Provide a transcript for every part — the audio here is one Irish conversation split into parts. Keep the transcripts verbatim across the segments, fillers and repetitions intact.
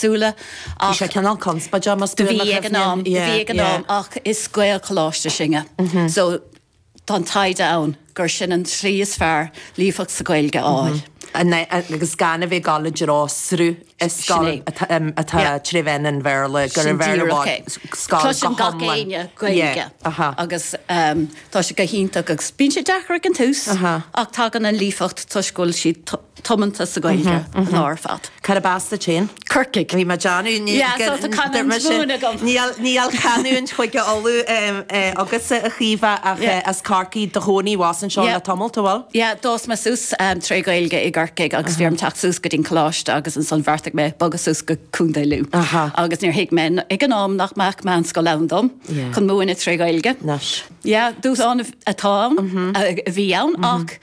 éagsúla. Bhí sé cineál conspóideach más Do bhí ag an am, bhí ag an am ach is Gaelcholáiste sinne. So tá an taighde ann gur sin an tslí is fearr líofacht sa Ghaeilge a fháil. agus gan a bheith ag dul i dtreo sruth i scoil atá trí mheán an Bhéarla gur an Bhéarla scoil Cloiseann gach éinne Gaeilge agus tá sé go hiontach agus bíonn sé deacair ag an tús ach tagann an líofacht toisc go bhfuil siad tiomanta sa Ghaeilge an lá ar fad. Cárb as duit féin? Corcaigh. Bhí mé Níl canúint Chúige Uladh agatsa a Chaoimhe ach as Corcaigh do chónaí abhus anseo le tamall tú bhfuil? Yeah, d'fhás mé suas tré Ghaeilge i gCorcaigh agus bhí orm teacht suas go dtí coláiste agus ansan bheartaigh mé bogadh suas go Contae Lú. Agus níor thuig mé ag an am nach mbeadh meánscoil ann dom chun múineadh tré Ghaeilge. Yeah, dúshlán atá ann a bhí ann ach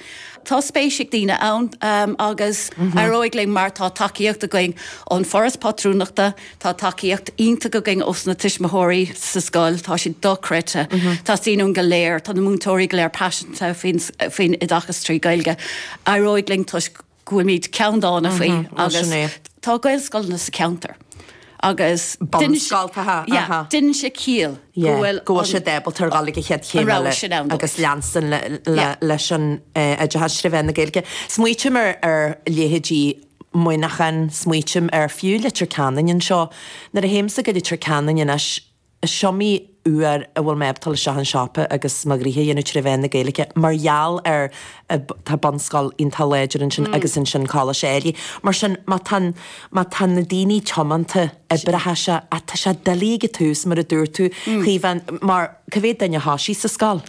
tá spéis ag daoine ann um, agus éireoidh linn mar tá tacaíocht againn ón Foras Pátrúnachta, tá tacaíocht iontach againn ós na tuismitheoirí sa scoil, tá siad dochreidte, Tá daoine go léir, tá na múinteoirí go léir paiseanta faoin faoin oideachas trí Ghaeilge. Éireoidh linn toisc go bhfuilimid ceanndána faoi agus tá Gaelscoileanna sa ceantar. Agus Bunscoilthe Déanann sé ciall go bhfuil sé ábalta a ghabháil ag an chéad chéim agus leanstan leis an oideachas trí mheán na Gaeilge. Smaoiním ar ar leithéidí Muineachán, smaoiním ar fiú Leitir Ceanainn anseo. Nuair a théimse go Leitir Ceanainn anois is iomaí uair a bhfuil mé ag dul isteach an siopa agus mo ghnoithe a dhéanamh trí mheán na Gaeilge mar gheall ar tá bunscoil iontach láidir ansin agus ansin coláiste eile. Mar sin má tá má tá na daoine tiomanta oibreoidh sé ach tá sé doiligh ag an tús mar a dúirt tú Caoimhe mar cá mhéad duine atá sí sa scoil?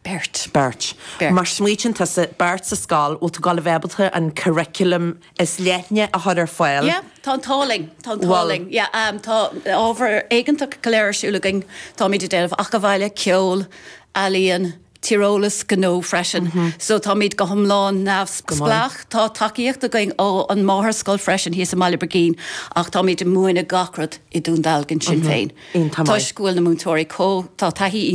Beirt. Beirt. Mar smaoitíonn tusa beirt sa scoil bhfuil tú ag dul a bheith ábalta an curriculum is leithne a chur ar fáil. Yeah, tá an t-ádh linn, tá an t-ádh linn. Yeah, um, tá ábhar éigeantach go léir ar siúl againn, Táimid ag déanamh acadbhaile, ceol, ealaíon, tíreolas gnó freisin. So táimid go hiomlán neamhspleách, tá tacaíocht againn ó an máthair freisin thíos i mBaile Brigín ach táimid ag múineadh gach rud i Dún Dealgan sin féin. Toisc go bhfuil na múinteoirí có tá taithí